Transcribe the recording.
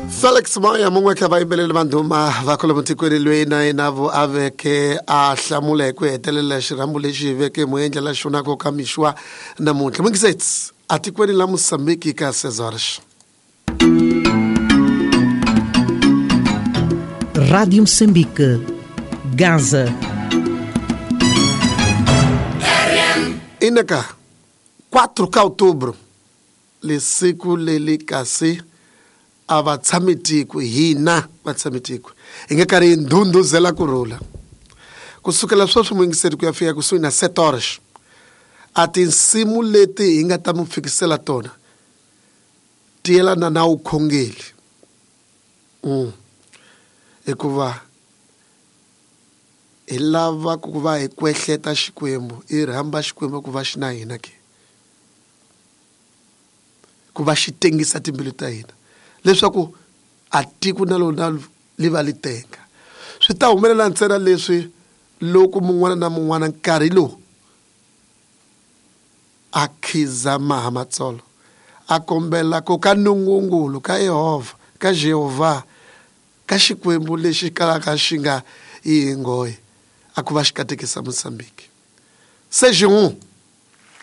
Felix Moya mun'we ka vayimbeleri va ndhuma va kwalomu tikweni loyi na yena vo a veke a hlamula hi ku hetelela xirhambo lexi hi veke mu endlela xona ko ka mixwa namuntlha mungisets atikweni la Mosambiki ka Cesars. Rádio Moçambique, Gaza. Inaka 4 ka outubro lesiku leli kasi a va tshami tiko hina va tshami tiko hi nga karhi hi ndhundhuzela ku rhula ku sukela sweswi muyingiseri ku ya fika kusuhi na 7 horas a tinsimu leti hi nga ta mi fikisela tona ti yelana na vukhongeri hikuva hi lava ku va hi kwehleta Xikwembu hi rhamba Xikwembu ku va xi na hina ke ku va xi tengisa timbilu ta hina leswaku a tiko na lona li va li tenga swi ta humelela ntsena leswi loko mun'wana na mun'wana nkarhi lowu a khizama ha matsolo a kombela ku ka nungungulu ka Yehovha ka Jehovha ka Xikwembu lexi kalaka xi nga yi hi nghohe a ku va xi katekisa Mozambique se xin'we.